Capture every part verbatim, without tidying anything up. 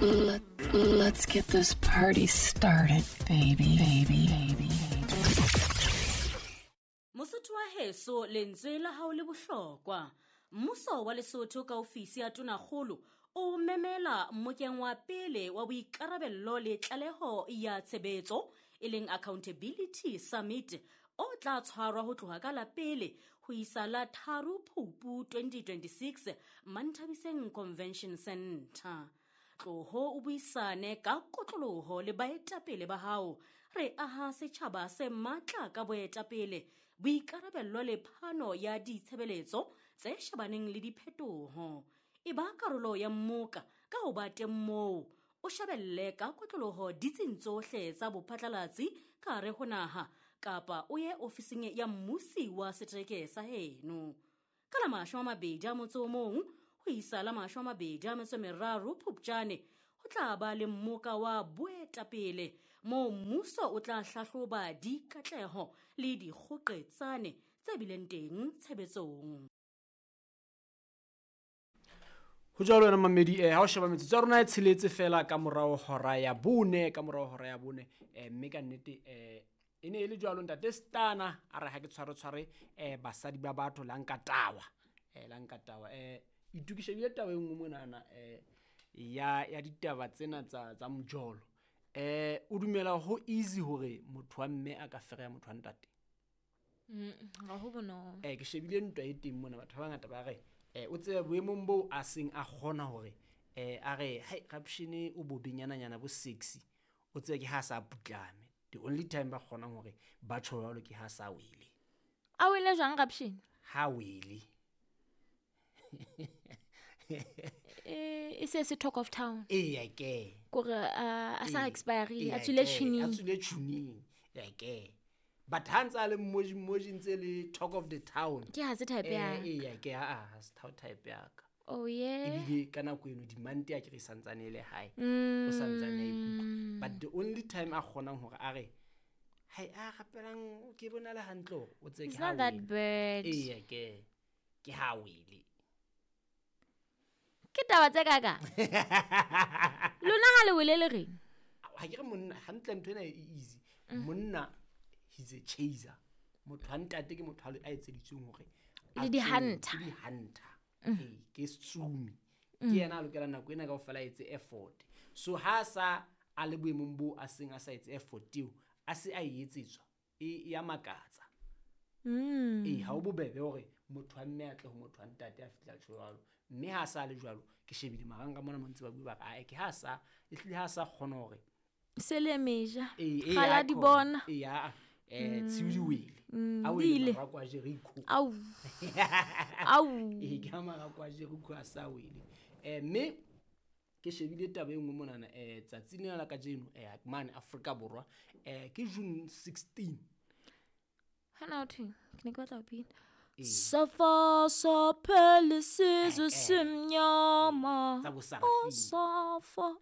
Let, let's get this party started, baby, baby, baby. Mosotho wa heso, lentswe la hao le bohlokwa. Mmuso wa Lesotho ka ofisi ya Tonakgolo o memela mmokeng wa pele wa boikarabello le tlaleho ya tshebetso, e leng Accountability Summit, o tla tshwarwa ho tloha ka la pele ho isa la tharo Phupu twenty twenty-six Manthabiseng Convention Center. Tloho o buisane ka kotloloho le baetapele ba hao. Re aha setjhaba se matla ka boetapele, boikarabello le phano ya ditshebeletso tse shebaneng le diphetoho. E ba karolo ya mmoka ka ho ba teng moo, o shebelle ka kotloloho ditsing tsohle tsa bophatlalatsi ka hare ho naha, kapa o ye ofising ya mmusi wa setereke sa heno. Ka la mashome a mabedi a motso o mong ho isa la mashome a mabedi a metso e meraro Phupjane, ho tla ba le mmoka wa boetapele moo mmuso o tla hlahloba dikatleho le dikgoqetsane tse bileng teng tshebetsong. Ho jwalo wena mamedi, eh ha o sheba metsotso ya rona e tsheletse fela ka morao hora ya bone, ka morao hora ya bone, eh mme ka nnete eh e ne e le jwalo ntate Stana a re ha ke tshware tshware eh basadi ba batho la nka tawa, eh la nka tawa. Eh itukishe bile taba e nngwe monana eh ya ya ditaba tsena tsa tsa mojolo. Eh o dumela ho easy hore motho wa mme a ka fereya motho wa ntate? Mm, ga ho bonolo. Eh ke shebile ntwa e teng mona, batho ba bangata ba re eh o tsebe boemong bo a seng a kgona hore eh a re hai rapshene o bobenyananyana bo sexy, o tsebe ke ha sa putlame. The only time ba kgonang hore ba tjho jwalo ke ha sa wele. A wele jwang rapshene? Ha wele. Eh e se se talk of town. Eh ke. Kore a sa expire, a tswile tjhining. A tswile tjhining. Ya ke. But ha ntse a le mmoji mmoji ntse le talk of the town. Ke ha se type ya. Eh ya ke ha ha se type ya ka. Oh yeah. Ebile ka nako eno demand ya ke re santsane le hae. O santsane a ikutlwa. But the only time a kgonang hore a re hai a rapelang ke bona le hantle o tse ke ha. It's not that bad. Eh ya ke. Ke ha wele. Ke taba tse kaka. Lona ha le wele le reng? Ha ke re monna hantle ntho ena e easy. Monna he's a chaser. Motho wa ntate ke motho a etseditsweng hore le di hunter. Ke di hunter. Eh ke tsumi. Ke yena a lokela nako ena kaofela a etse effort. So ha sa a le boemong bo a seng a sa etse effort eo, a se a e etsetswa e ya makatsa. Mm. Eh ha o bobebe hore motho wa mme a tle ho motho wa ntate a fihla jwalo. Mme ha sa le jwalo ke shebile marang ka mona montse ba bua ba re ke ha sa e hlile ha sa kgona hore se le meja. Eh Kgala di bona. Eh ya eh tshiudi wele. A wele marako a Jericho. Au. Au. Eh ke marako a Jericho a sa wele. Eh mme ke shebile taba e nngwe monana eh tsatsi lena la kajeno eh mane Afrika Borwa eh ke June sixteen. Hana o thweng? Ke ne ke batla ho pina. Safa saphele sizwe simnyama. Safa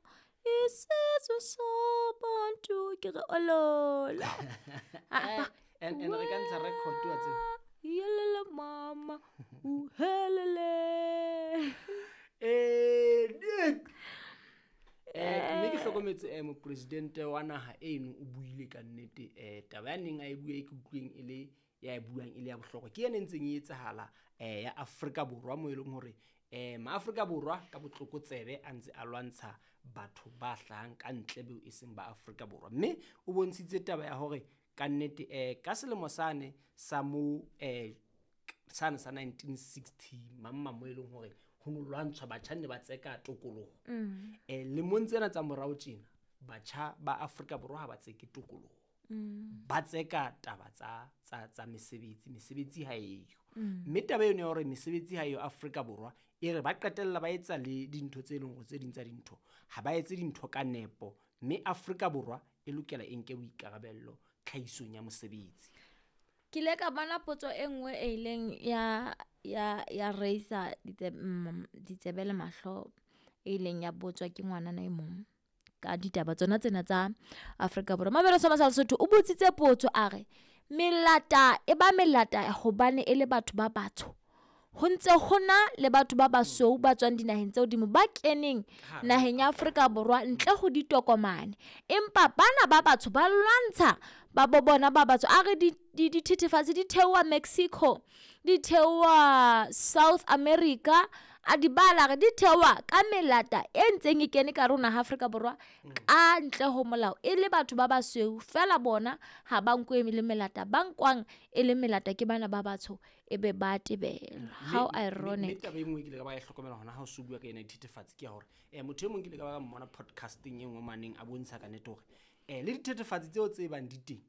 isizwe sabantu ke re olola. And and re ka ntsha record wa tseo. Yelele mama uhelele. Eh Nick. Eh mme ke hlokometse eh mopresidente wa naha eno o buile ka nnete eh taba ya neng a e bua e ke utlweng e le ya e buang e le ya bohlokwa ke yena ntseng e etsahala eh ya Afrika Borwa mo e leng hore eh ma Afrika Borwa ka botlokotsebe a ntse a lwantsha batho ba hlahang ka ntle beo e seng ba Afrika Borwa mme o bontshitse taba ya hore ka nnete eh ka selemo sane sa mo eh sane sa nineteen sixty mamma mo e leng hore ho no lwantshwa batjha ne ba tseka tokoloho eh lemong tsena tsa morao tjena batjha ba Afrika Borwa ha ba tseke tokoloho ba tseka taba tsa tsa tsa mesebetsi mesebetsi ha eyo mme taba eno ya hore mesebetsi ha eyo Afrika Borwa e re ba qetella ba etsa le dintho tse leng hore tse ding tsa dintho ha ba etse dintho ka nepo mme Afrika Borwa e lokela e nke boikarabello tlhahisong ya mosebetsi. Ke ile ka bona potso e nngwe e ileng ya ya ya raisa ditsebe le mahlo e ileng ya botswa ke ngwanana e mong ka ditaba tsona tsena tsa Afrika Borwa. Mabelo sa Lesotho o botsitse potso a re melata e ba melata hobane e le batho ba batsho Ho ntse ho na le batho ba basweu ba tswang dinaheng tse hodimo ba keneng naheng ya Afrika Borwa ntle ho ditokomane. Empa bana ba batsho ba lwantsha ba bo bona ba batsho. A re dithethefatsi di theoha Mexico, di theoha South America, a di bala re di theoha ka melata e ntseng e kene ka rona Afrika Borwa ka ntle ho molao e le batho ba basweu fela bona ha ba nkwe le melata ba nkwang e le melata ke bana ba batsho e be ba tebelwa. How ironic. Mme taba e nngwe ke ile ka ba e hlokomela hona ha o so bua ka ena dithethefatsi ke ya hore eh motho e mong ke ile ka ba ka mmona podcasting e nngwe maneng a bontsha ka nnete hore eh le dithethefatsi tseo tse bang di teng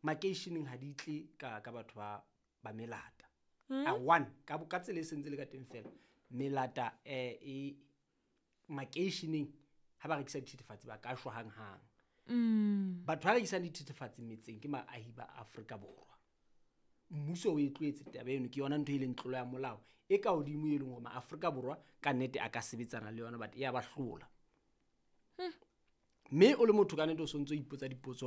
makeisheneng ha di tle ka ka batho ba ba melata. A one ka ka tsela e sentse le ka teng fela melata eh e makeisheneng ha ba rekisa dithethefatsi ba ka shwa hang hang. Mm. Batho ba rekisang dithethefatsi metseng ke maahi ba Afrika Borwa. Mmuso o e tlohetse taba eno ke yona ntho e leng tlolo ya molao e ka hodimo e leng hore ma-Afrika Borwa ka nnete a ka sebetsana le yona but e ya ba hlola. Mme o le motho ka nnete o sontso o ipotsa dipotso hore